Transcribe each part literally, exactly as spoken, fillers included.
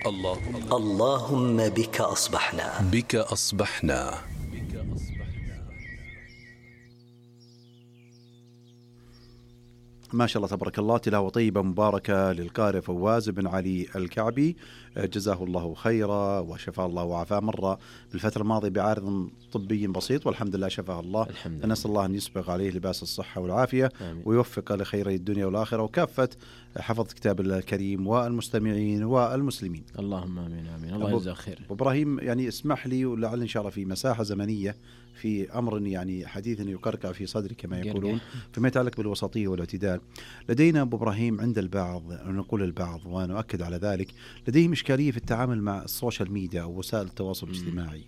اللهم اللهم بك أصبحنا بك أصبحنا ما شاء الله تبارك الله، تلاوة طيبة مباركة للقارئ فواز بن علي الكعبي، جزاه الله خيرا وشفاه الله وعافاه. مرة بالفترة الماضية بعارض طبي بسيط والحمد لله شفاه الله. نسأل الله أن يسبغ عليه لباس الصحة والعافية آمين. ويوفق لخيري الدنيا والآخرة وكافة حفظ كتاب الله الكريم والمستمعين والمسلمين. اللهم آمين آمين. الله يجزاك خير. إبراهيم، يعني اسمح لي ولعل إن شاء الله في مساحة زمنية في أمر يعني حديث يقرقع في صدري كما يقولون فيما يتعلق بالوسطية والاعتدال. لدينا أبو إبراهيم عند البعض، نقول البعض وأنا أؤكد على ذلك، لديهم إشكالية في التعامل مع السوشيال ميديا أو وسائل التواصل الاجتماعي.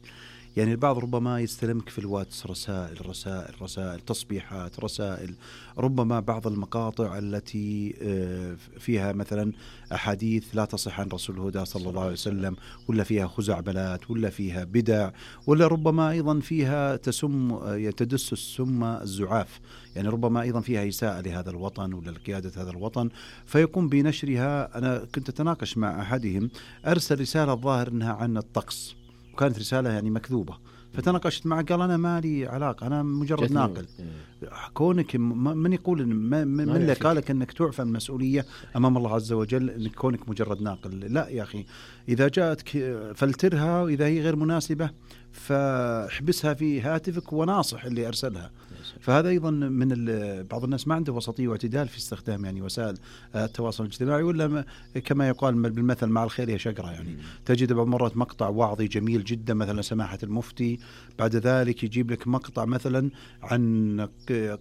يعني البعض ربما يستلمك في الواتس رسائل رسائل رسائل تصبيحات رسائل، ربما بعض المقاطع التي فيها مثلا أحاديث لا تصح عن رسول الهدى صلى الله عليه وسلم، ولا فيها خزعبلات، ولا فيها بدع، ولا ربما أيضا فيها تسم يتدس السم الزعاف، يعني ربما أيضا فيها إساءة لهذا الوطن ولا لقيادة هذا الوطن، فيقوم بنشرها. أنا كنت أتناقش مع أحدهم أرسل رسالة الظاهر أنها عن الطقس، وكانت رسالة يعني مكذوبة، فتناقشت معه قال أنا ما لي علاقة، أنا مجرد ناقل. كونك من يقول من, من اللي قالك أنك تعفى المسؤولية أمام الله عز وجل أنك كونك مجرد ناقل؟ لا يا أخي، إذا جاءتك فلترها، وإذا هي غير مناسبة فاحبسها في هاتفك وناصح اللي أرسلها. فهذا أيضا من بعض الناس ما عنده وسطية واعتدال في استخدام يعني وسائل التواصل الاجتماعي، ولا كما يقال بالمثل مع الخير يا شجرة. يعني تجد بعض مرات مقطع وعظي جميل جدا مثلا سماحة المفتي، بعد ذلك يجيب لك مقطع مثلا عن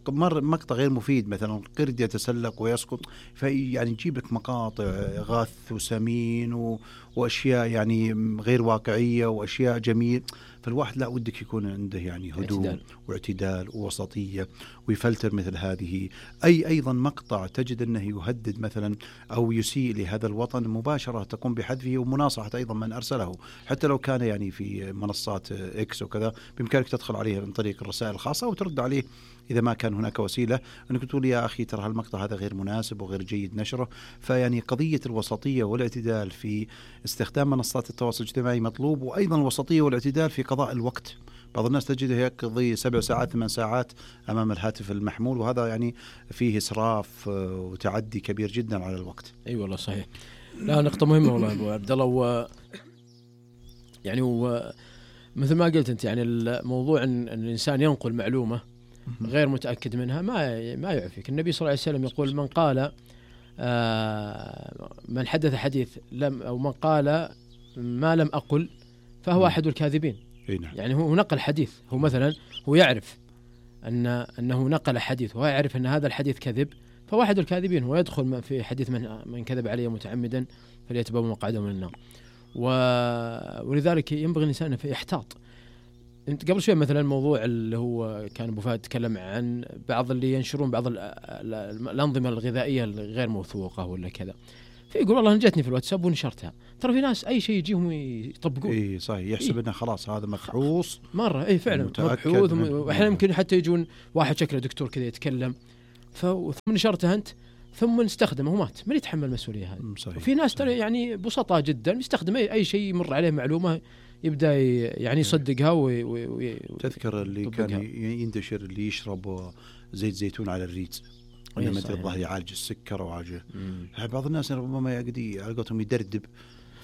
مقطع غير مفيد، مثلا قرد يتسلق ويسقط، فيعني يجيب لك مقاطع غث وسمين وأشياء يعني غير واقعية وأشياء جميل. فالواحد لا ودك يكون عنده يعني هدوء اعتدال. واعتدال ووسطية ويفلتر مثل هذه. أي أيضا مقطع تجد أنه يهدد مثلا أو يسيء لهذا الوطن، مباشرة تقوم بحذفه ومناصحة أيضا من أرسله، حتى لو كان يعني في منصات إكس وكذا، بإمكانك تدخل عليه من طريق الرسائل الخاصة وترد عليه إذا ما كان هناك وسيلة أنك تقول يا أخي ترى هالمقطع هذا غير مناسب وغير جيد نشره. فيعني قضية الوسطية والاعتدال في استخدام منصات التواصل الاجتماعي مطلوب، وأيضا الوسطية والاعتدال في قضاء الوقت. بعض الناس تجده يقضي سبع ساعات ثمان ساعات أمام الهاتف المحمول، وهذا يعني فيه إسراف وتعدي كبير جدا على الوقت. أي أيوة والله صحيح. لا نقطة مهمة والله أبو عبد الله. و يعني هو مثل ما قلت أنت، يعني الموضوع أن الإنسان ينقل معلومة غير متأكد منها ما ما يعفيك. النبي صلى الله عليه وسلم يقول من قال آه من حدث حديث لم أو من قال ما لم أقل فهو أحد الكاذبين. يعني هو نقل حديث، هو مثلا هو يعرف أن أنه نقل حديث وهو يعرف أن هذا الحديث كذب، فهو أحد الكاذبين، ويدخل في حديث من من كذب عليه متعمدا فليتبوأ مقعده من النار. ولذلك ينبغي الإنسان يحتاط. انت قبل شوي مثلا الموضوع اللي هو كان ابو فهد تكلم عن بعض اللي ينشرون بعض الانظمه الغذائيه الغير موثوقه ولا كذا، فيقول والله انا جتني في الواتساب ونشرتها. ترى في ناس اي شيء يجيهم يطبقون. اي صحيح، يحسب انه خلاص هذا مبحوث مره. اي فعلا مبحوث. واحيانا يمكن حتى يجون واحد شكله دكتور كذا يتكلم ثم نشرته انت ثم نستخدمه ومات، من يتحمل المسؤوليه هذه؟ وفي ناس ترى يعني بسطاء جدا يستخدم اي اي شيء يمر عليه معلومه يبدأ يعني يصدقها وي وي تذكر اللي كان ينتشر اللي يشرب زيت زيتون على الريز إنما الظاهر يعالج السكر وعالج. بعض الناس ربما يقدي علاقتهم يدردب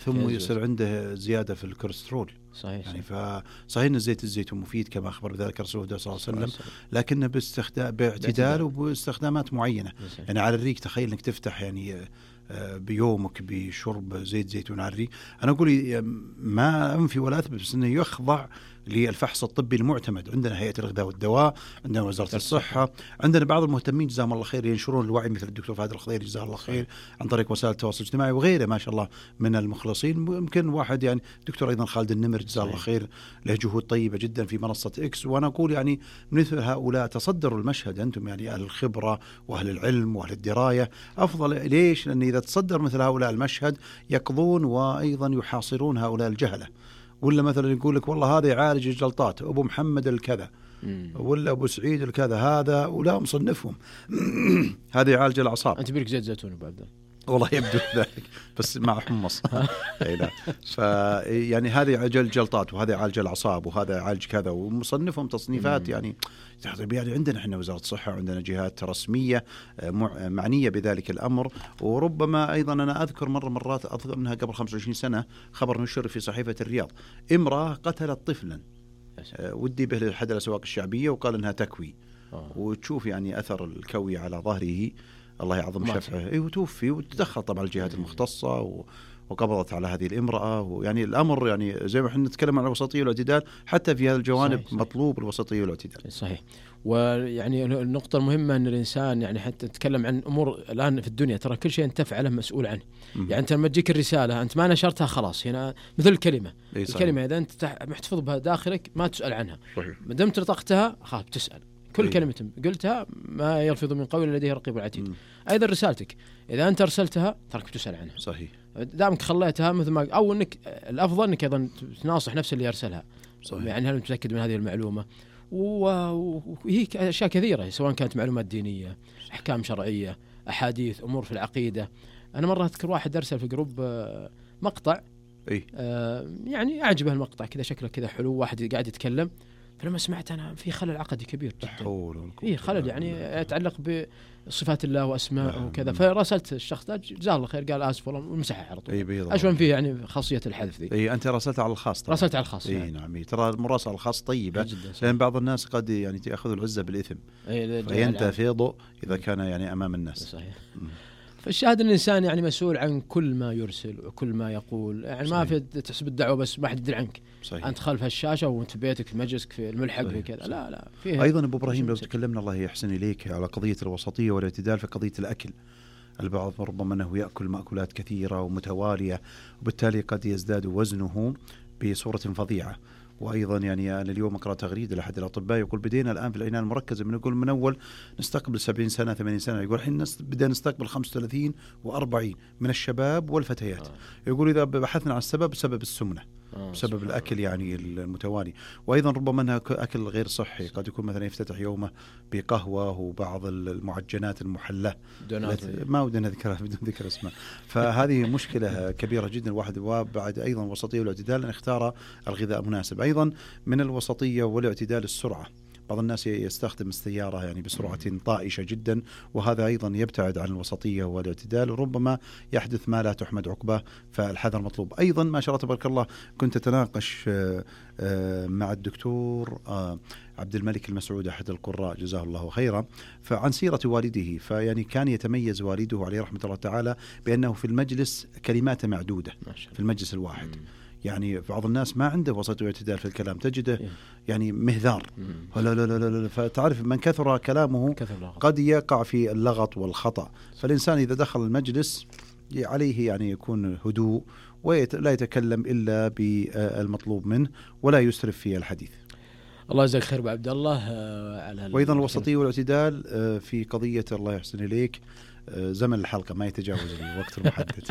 ثم يصير عنده زيادة في الكوليسترول. صحيح. يعني فصحيح أن زيت الزيتون مفيد كما أخبر بذلك رسول الله صلى الله عليه وسلم، لكنه باستخدام باعتدال وباستخدامات معينة. يعني على الريق تخيل أنك تفتح يعني بيومك بشرب زيت زيتون على الريق. أنا أقول ما أنفي ولا أثبت، بس أنه يخضع للفحص الطبي المعتمد. عندنا هيئة الغذاء والدواء، عندنا وزارة الصحة، عندنا بعض المهتمين جزاهم الله خير ينشرون الوعي مثل الدكتور فهد الخضيري جزاه الله خير عن طريق وسائل التواصل الاجتماعي وغيره ما شاء الله من المخلصين. ممكن واحد يعني دكتور أيضا خالد النمر جزاه الله خير له جهود طيبة جدا في منصة إكس. وأنا أقول يعني مثل هؤلاء تصدروا المشهد، أنتم يعني أهل الخبرة وأهل العلم وأهل الدراية أفضل. ليش؟ لأن إذا تصدر مثل هؤلاء المشهد يقضون وأيضا يحاصرون هؤلاء الجهلة. ولا مثلا يقول لك والله هذا يعالج الجلطات أبو محمد الكذا، ولا أبو سعيد الكذا هذا ولا مصنفهم. هذا يعالج الأعصاب. أنت بيرك زيت زيتون أبو عبد الله؟ والله يبدو ذلك بس مع حمص. اي لا فيعني هذا يعالج الجلطات وهذا يعالج الاعصاب وهذا يعالج كذا، ومصنفهم تصنيفات يعني يعني عندنا احنا وزارة الصحة وعندنا جهات رسمية معنية بذلك الأمر. وربما أيضا أنا أذكر مرة مرات أذكر منها قبل خمسة وعشرين سنة خبر نشر في صحيفة الرياض، امرأة قتلت طفلا ودي به لأحد الأسواق الشعبية وقال إنها تكوي، وتشوف يعني أثر الكوي على ظهره الله يعظم شفعه. اي وتوفي، وتدخل طبعا الجهات المختصة و... وقبضت على هذه الامرأة. ويعني الأمر يعني زي ما احنا نتكلم عن الوسطية والاعتدال، حتى في هذه الجوانب صحيح مطلوب صحيح. الوسطية والاعتدال صحيح. ويعني النقطة المهمة أن الإنسان يعني حتى نتكلم عن أمور الآن في الدنيا ترى كل شيء أنت تفعله مسؤول عنه. م- يعني أنت لما تجيك الرسالة أنت ما نشرتها خلاص، هنا مثل الكلمة الكلمة إذا أنت محتفظ بها داخلك ما تسأل عنها، ما دمت نطقتها خلاص تسأل كل إيه؟ كلمة قلتها ما يلفظ من قول لديه رقيب عتيد. أيضا رسالتك إذا أنت أرسلتها ترك تسأل عنها. صحيح. دامك خليتها مثل ما أو إنك الأفضل إنك أيضا تناصح نفس اللي يرسلها. صحيح. يعني هل متأكد من هذه المعلومة؟ وهي أشياء كثيرة سواء كانت معلومات دينية، أحكام شرعية، أحاديث، أمور في العقيدة. أنا مرة أذكر واحد أرسل في جروب مقطع إيه؟ آه يعني أعجبه المقطع كذا شكله كذا حلو، واحد قاعد يتكلم، فلما سمعت أنا في خلل عقدي كبير جدا، في خلل يعني يتعلق بصفات الله وأسماءه وكذا. فراسلت الشخص ده جزاه الله خير، قال آسف والله ومسحها على طول. أشوف فيه يعني خاصية الحذف ذي. أي أنت راسلت على الخاص طبعا. راسلت على الخاص. أي يعني. نعم. ترى المراسلة على الخاص طيبة، لأن بعض الناس قد يعني تأخذ العزة بالإثم فينتفض إذا كان يعني أمام الناس. صحيح. فالشاهد أن الإنسان يعني مسؤول عن كل ما يرسل وكل ما يقول، يعني صحيح. ما في تحسب الدعوة بس ما حد يدري عنك. صحيح. أنت خلف الشاشة وأنت في بيتك في مجلسك في الملحق وكذا. لا لا فيه. أيضا أبو إبراهيم لو تكلمنا الله يحسن إليك على قضية الوسطية والاعتدال في قضية الأكل، البعض ربما أنه يأكل مأكولات كثيرة ومتوالية وبالتالي قد يزداد وزنه بصورة فظيعة. وأيضا يعني أنا اليوم أقرأ تغريدة لأحد الأطباء يقول بدينا الآن في العناية المركزة من يقول من أول نستقبل سبعين سنة ثمانين سنة، يقول الحين بدأنا نستقبل خمسة وثلاثين وأربعين من الشباب والفتيات. آه. يقول إذا بحثنا عن السبب سبب السمنة، آه بسبب الأكل يعني المتوالي. وأيضا ربما أنها أكل غير صحي، قد يكون مثلا يفتتح يومه بقهوة وبعض المعجنات المحلى ما ودنا نذكرها بدون ذكر اسمها. فهذه مشكلة كبيرة جدا الواحد. وبعد أيضا الوسطية والاعتدال أن اختار الغذاء مناسب. أيضا من الوسطية والاعتدال السرعة، بعض الناس يستخدم السيارة يعني بسرعة طائشة جدا، وهذا أيضا يبتعد عن الوسطية والاعتدال وربما يحدث ما لا تحمد عقباه، فالحذر مطلوب. أيضا ما شاء الله تبارك الله كنت أتناقش مع الدكتور عبد الملك المسعود أحد القراء جزاه الله خيرا فعن سيرة والده. فيعني كان يتميز والده عليه رحمة الله تعالى بأنه في المجلس كلمات معدودة في المجلس الواحد. يعني بعض الناس ما عنده وسط واعتدال في الكلام، تجده يعني مهذار لا لا لا لا. فتعرف من كثر كلامه قد يقع في اللغط والخطأ. فالإنسان إذا دخل المجلس عليه يعني يكون هدوء ولا يتكلم إلا بالمطلوب منه ولا يسرف في الحديث. الله يجزاك خير أبو عبد الله على. وأيضا الوسطية والاعتدال في قضية الله يحسن إليك زمن الحلقة ما يتجاوز الوقت المحدد.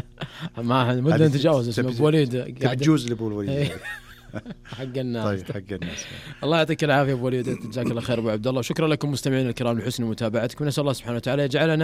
ما مدة نتجاوز اسمه أبو وليد قاعد تجوز لأبو وليد حق الناس. طيب حق الناس. الله يعطيك العافية أبو وليد، جزاك الله خير أبو عبد الله. شكرا لكم مستمعين الكرام لحسن متابعتكم، نسأل الله سبحانه وتعالى يجعلنا